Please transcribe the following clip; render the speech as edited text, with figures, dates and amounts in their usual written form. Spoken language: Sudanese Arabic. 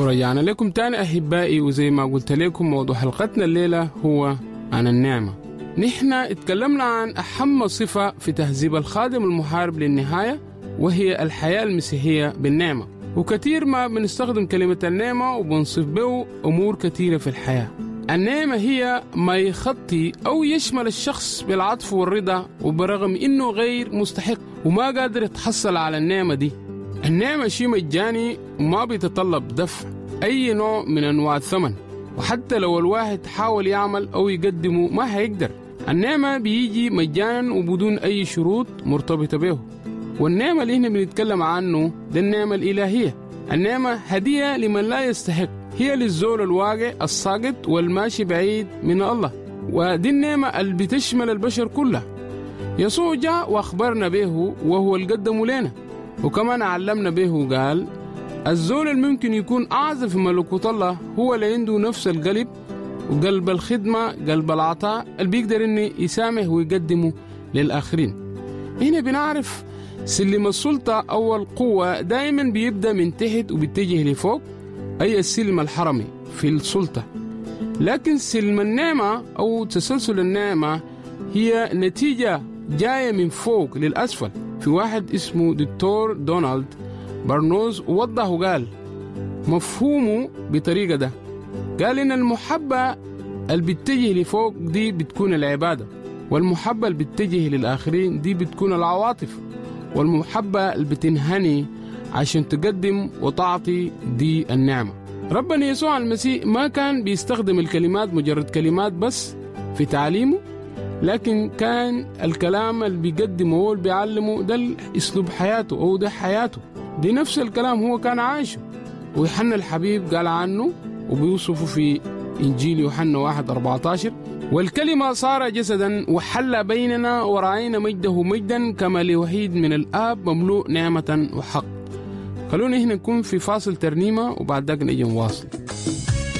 ورجعنا لكم تاني أحبائي، وزي ما قلت لكم موضوع حلقتنا الليلة هو عن النعمة. نحن اتكلمنا عن أهم صفة في تهذيب الخادم المحارب للنهاية، وهي الحياة المسيحية بالنعمة. وكثير ما بنستخدم كلمة النعمة وبنصف به أمور كثيرة في الحياة. النعمة هي ما يخطي أو يشمل الشخص بالعطف والرضا، وبرغم إنه غير مستحق وما قادر يتحصل على النعمة دي. النعمة شيء مجاني وما بيتطلب دفع أي نوع من أنواع الثمن، وحتى لو الواحد حاول يعمل أو يقدمه ما هيقدر. النعمة بيجي مجانا وبدون أي شروط مرتبطة به. والنعمة اللي هنا بنتكلم عنه ده النعمة الإلهية. النعمة هدية لمن لا يستحق، هي للزول الواقع الساقط والماشي بعيد من الله، ودي النعمة اللي بتشمل البشر كلها. يسوع جاء وأخبرنا به وهو اللي قدمه لنا، وكمان علمنا به وقال الزول الممكن يكون أعظم في ملكوت الله هو اللي عنده نفس القلب وقلب الخدمة، قلب العطاء اللي بيقدر إنه يسامح ويقدمه للآخرين. هنا بنعرف سلم السلطة أو القوة دائما بيبدأ من تحت وبيتجه لفوق، أي السلم الحرمي في السلطة. لكن سلم النعمة أو تسلسل النعمة هي نتيجة جاية من فوق للأسفل. في واحد اسمه دكتور دونالد برنوز وضح وقال مفهومه بطريقة ده، قال إن المحبة اللي بتتجه لفوق دي بتكون العبادة، والمحبة اللي بتتجه للآخرين دي بتكون العواطف، والمحبة اللي بتنهني عشان تقدم وتعطي دي النعمة. ربنا يسوع المسيح ما كان بيستخدم الكلمات مجرد كلمات بس في تعليمه، لكن كان الكلام اللي بيقدمه هو اللي بيعلمه ده أسلوب حياته أو ده حياته، دي نفس الكلام هو كان عايشه. ويوحنا الحبيب قال عنه وبيوصفه في إنجيل يوحنا 1:14: والكلمة صار جسدا وحل بيننا ورأينا مجده مجدا كما لوحيد من الآب مملوء نعمة وحق. خلونا هنا نكون في فاصل ترنيمة وبعد ذاك نجي نواصل.